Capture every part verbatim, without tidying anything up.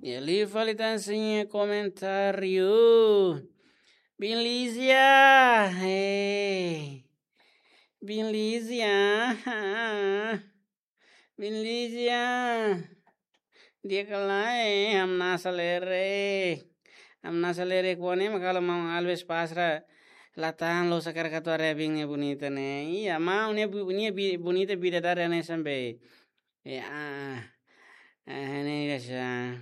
Ya, liu fali tan sira-nia komentáriu. Biin Lizia, eh. Biin Lizia, ah. Biin Lizia. Di'ak ka lae, hamnasa lerek. Hamnasa lerek kuane, mak halo maun Alves pasra. La tahan loos hakarak atu haree biin ne'e bonita ne'e. Iya, maun ne'e bu-, ne'e bi-, bonita bidadari hanesan be. Ya, ah, ah, ne'e biasa.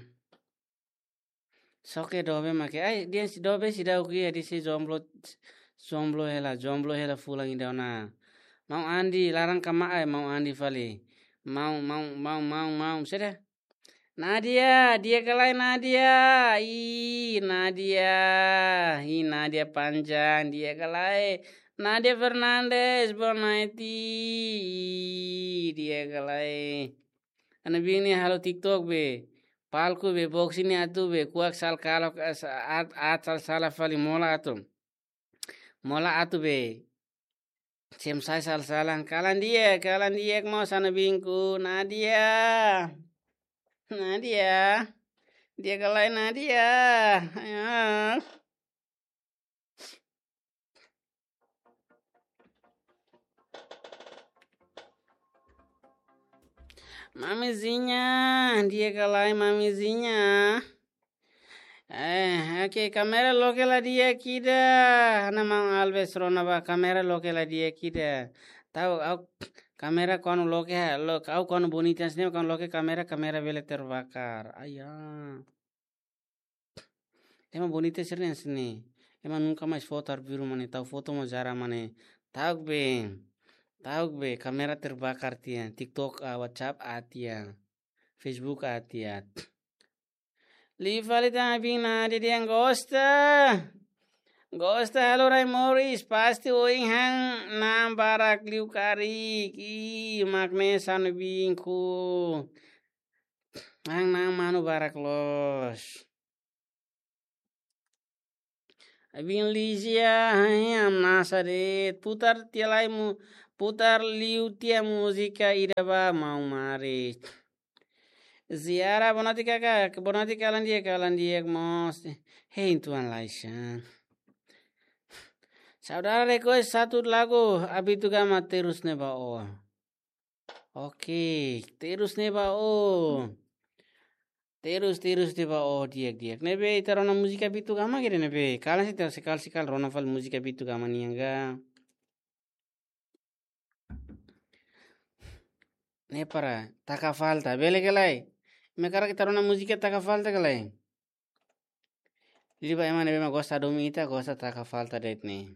Só ke dobe mak, ai, dehan sei dobe seidauk iha, dehan sei jomblo, jomblo hela, jomblo hela fulan ida ona. Maun Andi, laran kama ai, maun Andi fali. Maun, maun, maun, maun, maun, saida? Nadia, di'ak ka lae Nadia. Ih, Nadia. Ih, Nadia panjang, di'ak ka lae. Nadia Fernandes, boa noite. Ih, di'ak ka lae. Ha'u-nia biin ne'e halo TikTok be. Palku be, box ne'e atu be. Kuak sala kalan, eh, sa-, aat, aat sala sala fali mola atu. Mola atu be. Sem sai sala sala. Kalan di'ak, kalan di'ak mós ha'u-nia biinku. Nadia. Nadia. Di'ak ka lae Nadia. Ayo. Mamizinha, di'ak ka lae Mamizinha. Eh, oke, kámera loke la di'ak ida. Ha'u-nia maun Alves rona ba kámera loke la di'ak ida. Ta'uk, ha'u kámera kuandu loke, ha, lo-, ha'u kuandu bonita hanesan ne'e, kuandu loke kámera, kámera bele terbakar. Ayah. Ema bonita sira hanesan ne'e. Ema nunka mais foto arbiru mak ne'e, tau foto mós jarang mak ne'e. Ta'uk be. Ta'uk be, kámera terbakar tiha. TikTok, ah, WhatsApp aat tiha. Facebook aat tiha. Liu fali tan biin Nadia dehan gosta. Gosta halo rai moris, pasti ohin han na'an barak liu karik. Ih, mak ne'e ha'u-nia biinku. Han na'an manu barak loos. Biin Lizia, hamnasa de'it. Putar tiha lai mu-, putar liu tiha múzika ida ba maun Maris. Ziara, boa noite kaka, boa noite kalan di'ak, kalan di'ak mós. Hein tuan Laishan. Saudara request satu lagu Abitu Gama Terus Ne'e Ba Ó. Oke, Terus Ne'e Ba Ó. Terus, Terus Ne'e Ba Ó, di'ak, di'ak. Ne'ebé ita rona múzika Abitu Gama kira ne'ebé. Kalan sei ita sekali-sekali rona fali múzika Abitu Gama nian ka. Ne'e para taka falta, bele ka lae? Imi hakarak ita rona múzika taka falta ka lae? Liu ba ema ne'ebé mak gosta domin ita, gosta taka falta de'it ne'e.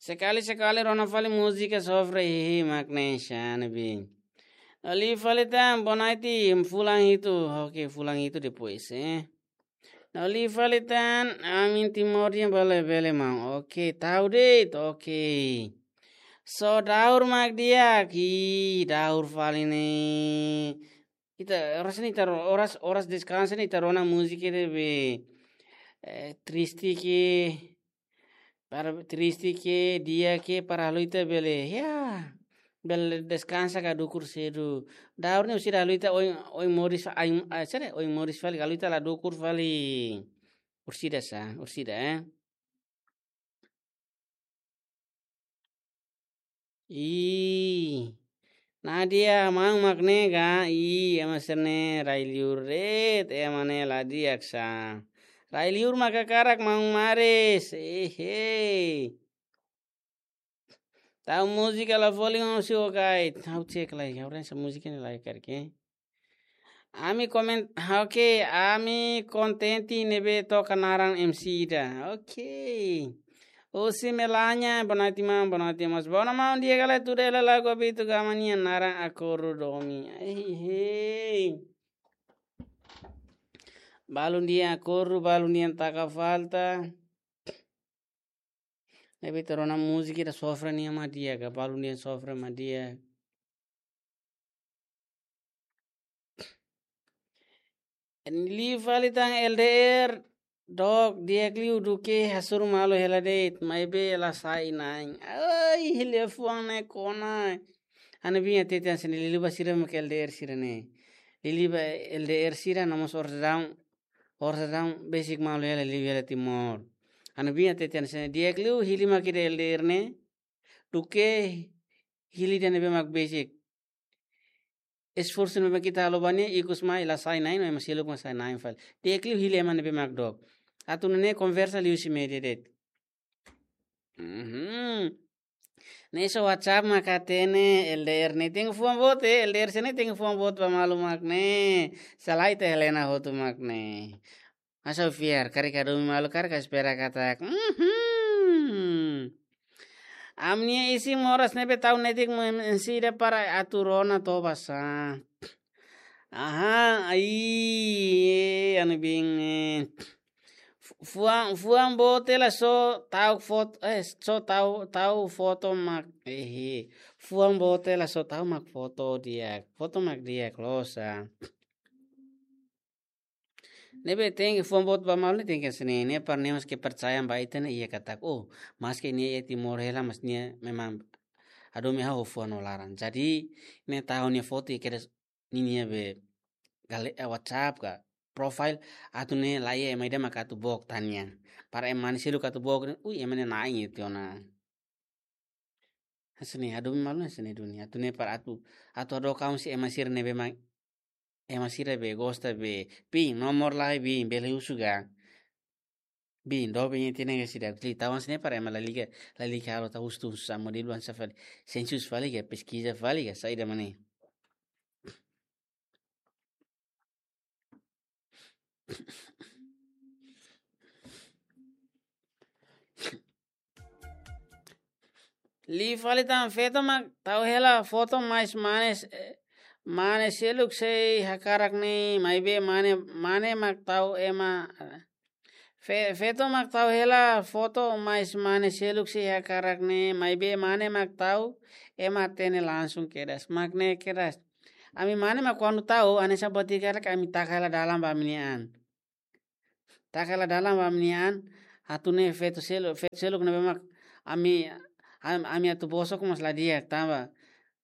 Sekali-sekali rona fali múzika sofre hihi mak ne'e hanesan ne'ebé. No liu fali tan, boa noite, fulan hitu. Oke, fulan hitu depois, eh. No liu fali tan, amin Timor nian bele, bele maun. Oke, tau de'it, oke. Só daur mak di'ak, ih, daur fali ne'e. Ita, oras ne'e ita ro-, oras, oras deskansa ne'e ita rona múzika ne'ebé, eh, triste ke, para triste ke, di'ak ke, para halo ita bele, ya, bele deskansa ka dukur sedu. Daur ne'e orsida halo ita oin, oin moris, ai, ai, sere, oin moris fali, halo ita la dukur fali. Orsida sa, orsida, eh. Ih. Nadia, maun mak ne'e ka? Ih, ema sira-ne'e rai liur de'it, ema ne'e la di'ak sa. Rai liur mak hakarak maun Maris. Ehe. Tau múzika la folin ho si o kai. Tau cek lai, ha'u rasa múzika ne'e lai karik. Ami komen-, oke, ami kontente ne'ebé toka naran M C ida. Oke. Osi Melania, boa noite, maun, boa noite, maun. Boa noite, maun, di'ak ka lae, tuda hela lagu Abitu Gama nian naran Akordu Domin. Ei, hei. Balun dehan akordu, balun dehan taka falta. Ne'ebé ita rona múzika ida sofre nian mak di'ak ka, balun dehan sofre mak di'ak. Liu fali tan L D R, dook, di'ak liu duké hasoru malu hela de'it, maibé la sai na'in. Ai, liafuan ne'e kona. Ha'u-nia biin hatete hanesan ne'e, liuliu ba sira mak L D R sira ne'e. Liuliu ba L D R sira no mós orsida, orsida besik malu hela liu hela Timor. Ha'u-nia biin hatete hanesan ne'e, di'ak liu hili mak ida L D R ne'e, duké hili ida ne'ebé mak besik. Esforsu ne'ebé mak ita halo ba nia, ikus mai la sai na'in, no ema seluk mak sai na'in fali. Di'ak liu hili ema ne'ebé mak dook. Atu nune'e konversa liuhusi média de'it. Mhm. Ne'e só WhatsApp mak hatene, L D R ne'e tenke fuan boot, eh, L D R sira ne'e tenke fuan boot ba malu mak ne'e. Selae ita Helena hotu mak ne'e. Masa fiar, karik hadomi malu, karik espera katak. Mhm. Ami-nia isin moras ne'ebé tau netik mo em-, ensida para atu rona toba sa. Aha, ai, eh, ha'u-nia biin, eh. Fu-, fuan, fuan boot hela só tau foto, eh, só tau, tau foto mak, eh, eh. Fuan boot hela só tau mak foto di'ak, foto mak di'ak loos sa. Ne'ebé tenke fuan boot ba malu ne'e tenke hanesan ne'e, ne'e para nia mós kepercayaan ba ita ne'e iha katak. Oh, maske nia iha Timor hela, mas nia memang hadomi ha'u ho fuan no laran. Jadi, ne'e tau nia foto iha kedas ninia be gale-, eh, WhatsApp ka profile atu nune'e la iha ema ida mak atu book tan nia. Para ema nia seluk atu book, ui, ema ne'e na'in tiha ona. Hanesan ne'e, hadomi malu hanesan ne'e duni. Atu nune'e para atu, atu hadook ha'u husi ema sira ne'ebé mak, ema sira be gosta be, biin, nomor lai biin, bele husu ka. Biin, doben iha tiha ona ka sira, li tau hanesan ne'e para ema lalika, lalika halo tau husu, husu sa modelu hanesan fali, sensus fali ka, peskiza fali ka, saida mak ne'e. Liu fali tan, feto mak tau hela foto mais mane s-, eh, mane seluk sei hakarak ne'e, maibé mane, mane mak tau ema, eh, fe-, feto mak tau hela foto mais mane seluk sei hakarak ne'e, maibé mane mak tau ema hatene langsung kedas. Mak ne'e kedas. Ami mane mak kuandu tau, hanesan buat ida karik ami taka hela dalan ba ami-nia an. Taka hela dalan ba ami-nia an, atu nune'e feto selu-, feto seluk ne'ebé mak ami, am-, ami atu bosok mós la di'ak tanba,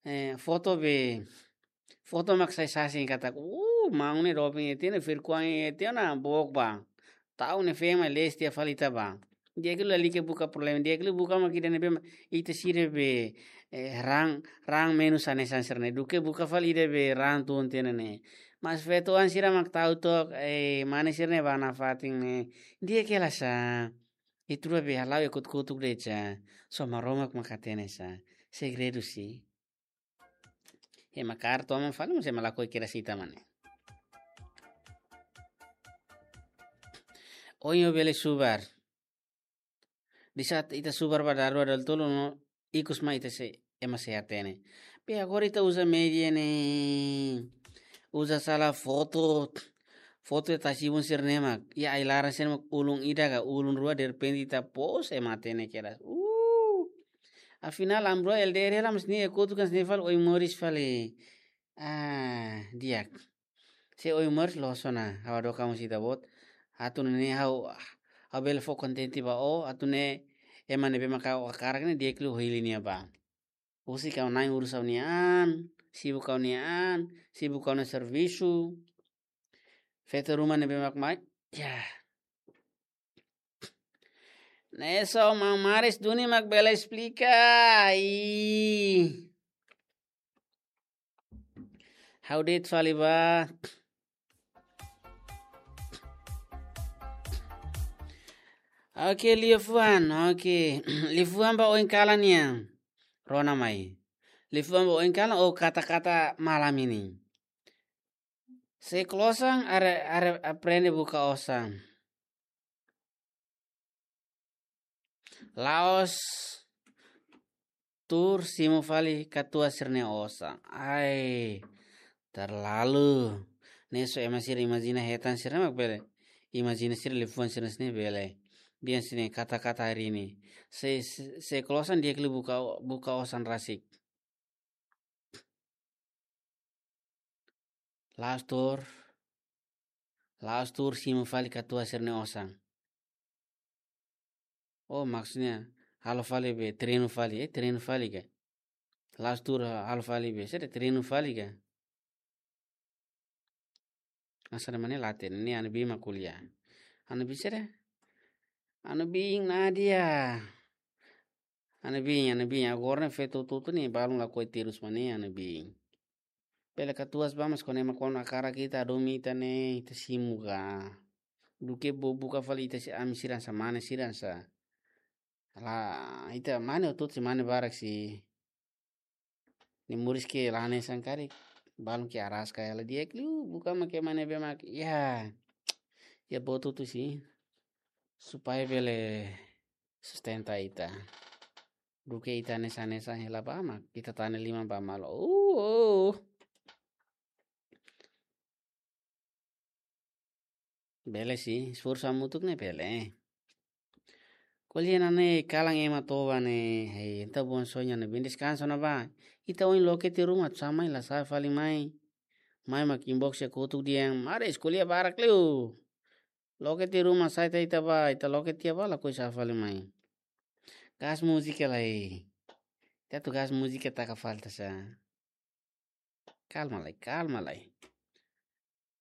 eh, foto be, foto mak sai sasin katak, uh, maun ne'e doben iha tiha ona, verkuang iha tiha ona, book ba. Tau ne'e fema les tiha fali ita ba. Di'ak liu lalika buka problema, di'ak liu buka mak ida ne'ebé mak ita sira be, eh, raan, raan menus hanesan sira-ne'e. Duké buka fali ida be raan tun tiha ona ne'e. Mas feto an sira mak tau took, eh, mane sira-ne'e ba nafatin ne'e. Di'ak hela sa. Ita rua be hala'o iha kotuk-kotuk de'it sa. Só Maromak mak hatene sa. Segredu si. Ema kaer toman fali, mas ema lakohi kedas ita mak ne'e. Oin ó bele subar. Di saat ita subar ba dalarua dalatolu no ikus mai ita sei, ema sei hatene. Be agora ita uza média ne'e. Uza sala foto. Foto iha tasi-ibun sira-ne'e mak. Iha ai-laran sira-ne'e mak ulun ida ka ulun rua derrepente ita post ema hatene kedas. Uh. Afinál ami rua L D R hela mas nia kotuk hanesan ne'e fali, oin moris fali. Ah, di'ak. Se oin moris loos ona, ha'u hadook ha'u husi ita-boot. Atu nune'e ha'u, ha'u bele fó kontente ba ó, atu nune'e ema ne'ebé maka ó hakarak ne'e di'ak liu ó hili nia ba. Husik ha'u-nia an, urus ha'u-nia an, sibuk ha'u-nia an, sibuk ha'u-nia servisu. Feto ruma ne'ebé mak mai, ya. Ne'e só maun Maris duni mak bele esplika. Ih. Ha'u de'it fali ba. Oke, liafuan. Oke. Liafuan ba oin kalan nian. Rona mai. Liafuan ba oin kalan ou kata-kata malam ini. Se klosan are, are aprende buka osan. La'ós tuur simu fali katuas sira-nia osan. Ai, terlalu. Ne'e só ema sira imajina hetan sira mak bele. Imajina sira liafuan sira-ne'e bele. Bian sini kata-kata hari ini. Se, se, se klosan di'ak liu buka, buka osan rasik. La'ós tuur, la'ós tuur simu fali katuas sira-nia osan. Oh, maksudnya, halo fali be, treinu fali, eh, treinu fali ka? La'ós tuur halo fali be, sede treinu fali ka? Asa de mane late, ne'e anu biin mak ko'alia. Anu biin sede? Anu biin Nadia. Anu biin, anu biin, agora ne'e feto tutu ne'e balun lakohi terus mane anu biin. Bele katuas ba mas kone ema kona hakarak ita hadomi ita ne'e, ita simu ka. Duké bá buka fali ita si ami sira hanesan mane, sira hanesan. La, ita mane hotu-hotu sei mane barak sih. Ne'e moris ke la hanesan karik. Balun ke araska hela di'ak liu, buka mak ema ne'ebé mak. Ya. Ya boot hotu sih. Supaya bele sustenta ita. Duké ita hanesan-hanesan hela ba mak, ita tane liman ba malu. Uh, uh. Bele sih, esforsu hamutuk ne'e bele. Ko'alia ona ne'e kalan ema toba ne'e, hei, entaun bom sonho ne'e, bem descanso ona ba. Ita ohin loke tiha ruma, sá mai la sá fali mai. Mai mak inbox ya kotuk dehan, maris ko'alia barak liu. Loke tiha ruma sá ita, ita ba, ita loke tiha ba lakohi sá fali mai. Gas múzika lai. Ita atu gas múzika taka falta sá. Kalma lai, kalma lai.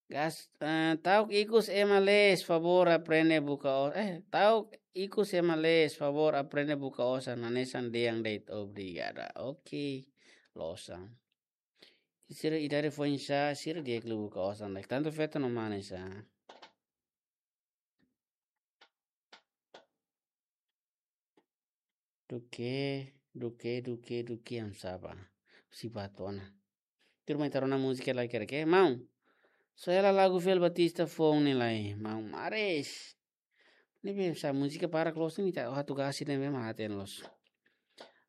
Gas, eh, ta'uk ikus ema lees, favór aprende buka o-, eh, ta'uk ikus ema lees, favór aprende buka osan, hanesan dehan de'it, obrigada. Oke, loos an. Sira idade foin sá, sira di'ak liu buka osan de'it. Tantu feto no mane sá. Duké, duké, duké, duké, am saba. Si batona. Tuirmai ita rona múzika lai kere ke, maun. Só hela lagu Fiel Batista foun ne'e lai, maun maris. Ne'ebé sá múzika barak loos ne'e ita atu gas ne'ebé mak hatene loos.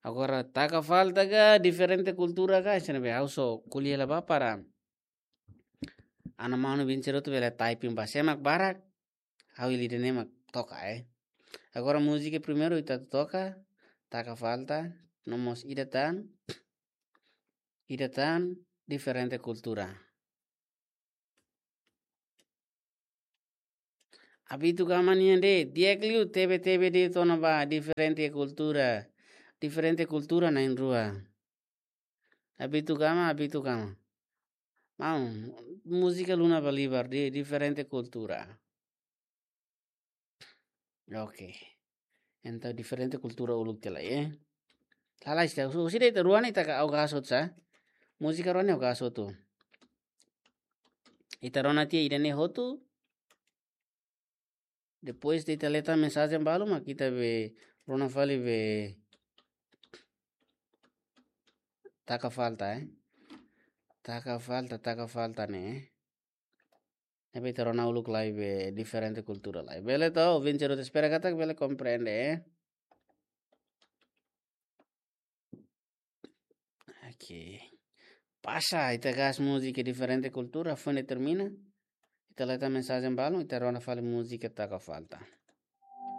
Agora taka falta ka, diferente kultura ka, sira ne'ebé ha'u só ko'alia hela ba para. Ana manu bin cerotu bele typing ba sé mak barak. Ha'u hili ida-ne'e mak toka, eh. Agora múzika primeiru ita toka, taka falta, no mós ida tan, ida tan, diferente kultura. Abitu gama nian de'it, di'ak liu tebe-tebe de'it ona ba, diferente kultura, diferente kultura na'in-rua. Abitu gama, abitu gama. Maun, múzika Luna Bolivar de'it, diferente kultura. Oke. Entaun diferente kultura uluk tiha lai, eh. Lalais tiha, husi de'it rua ne'e ita ka ha'u gas hotu sá. Múzika rua ne'e ha'u gas hotu. Ita rona tiha ida-ne'e hotu. Depois de ita lee tan mensajen balu mak ita be rona fali be taka falta, eh. Taka falta, taka falta ne'e, eh. Ne'ebé ita rona uluk lai be diferente kultura lai. Bele to, ouvinte rota espera katak bele komprende, eh. Oke. Pasa, ita gas múzika diferente kultura, foin determina. Ita lee tan mensajen balu, ita rona fali múzika taka falta.